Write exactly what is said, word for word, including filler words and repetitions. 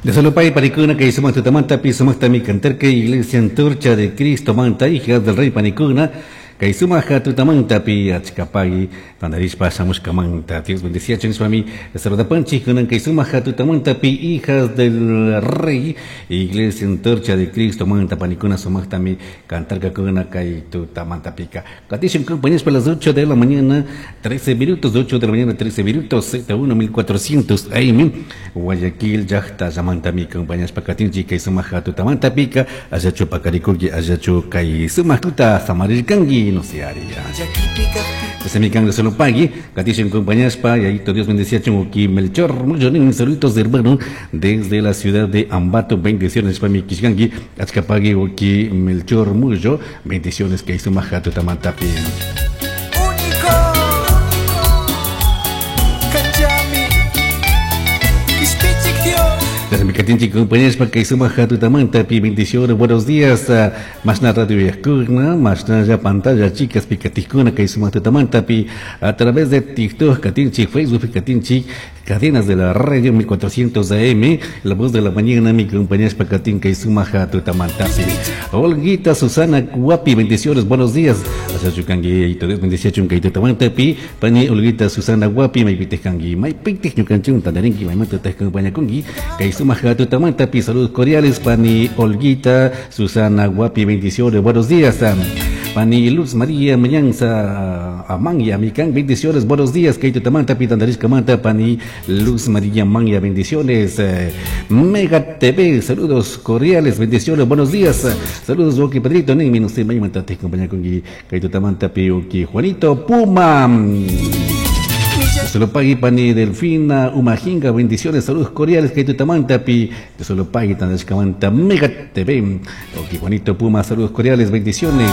De solo pay panikuna kay sumaq tutamantapi sumaqtami cantarka Iglesia Antorcha de Cristo manta hijas del Rey panikuna kay sumaq tutamantapi achkapay tantarishpa shamushkamanta. Dios bendeciachun nishpami saludapanchik kunan kay sumaq tutamantapi hijas del Rey Iglesia Antorcha de Cristo manta panikuna sumaqtami cantarkakuna kay tutamantapika. Katishun compañeros a las ocho de la mañana trece minutos, ocho de la mañana trece minutos, Z uno mil cuatrocientos A M, Guayaquil llaqta llamantami compañeros pakatinchik kay sumaq tutamantapika allachu pakarikunki, allachu kay sumaq tuta samarirkanki, no se haría. Pues mi can solo pagui, katishun compañeros pa y Dios bendeciachun uki Melchor, mucho saludos hermano desde la ciudad de Ambato, bendiciones pa mi kishkanki, achkapagui uki Melchor Mucho, bendiciones kay sumaq tutamantapi. Único. Kanllami. Quishpichij Dios. Desde mi katinchik compañeros pa kay sumaq tutamantapi bendiciones, buenos días, mashna radio yakuna, mashna ya pantalla chicas picatikuna kay sumaq tutamantapi a través de TikTok katinchik, Facebook katinchik, cadenas de la radio mil cuatrocientos A M, la voz de la mañana, mi compañeros pa katin kay sumaq tutamantapi. Olguita Susana Guapi, bendiciones, buenos días. Achachukangi, Dios bendiciachun kay tutamantapi, pani Olguita Susana Guapi, maypitejkangi, maypitej ñukanchun tandarinki, maymanta compañakunki, kay sumaq tutamantapi, saludos cordiales, pani Olguita Susana Guapi, bendiciones, buenos días. Pani Luz María Mañanza Amanya, Mikan, bendiciones, buenos días, kay tutamanta, pitandarishkamanta, pani Luz María Manya, bendiciones. Mega T V, saludos cordiales, bendiciones, buenos días. Saludos, Oki Pedrito, ni no sé, maymanta te acompaña con kay tutamanta, pi Juanito Puma. Solo pagui pani Delfina Umajinga, bendiciones, saludos cordiales, kay tutamanta pi, solo pagui tandashkamanta Mega T V. Oki Juanito Puma, saludos cordiales, bendiciones.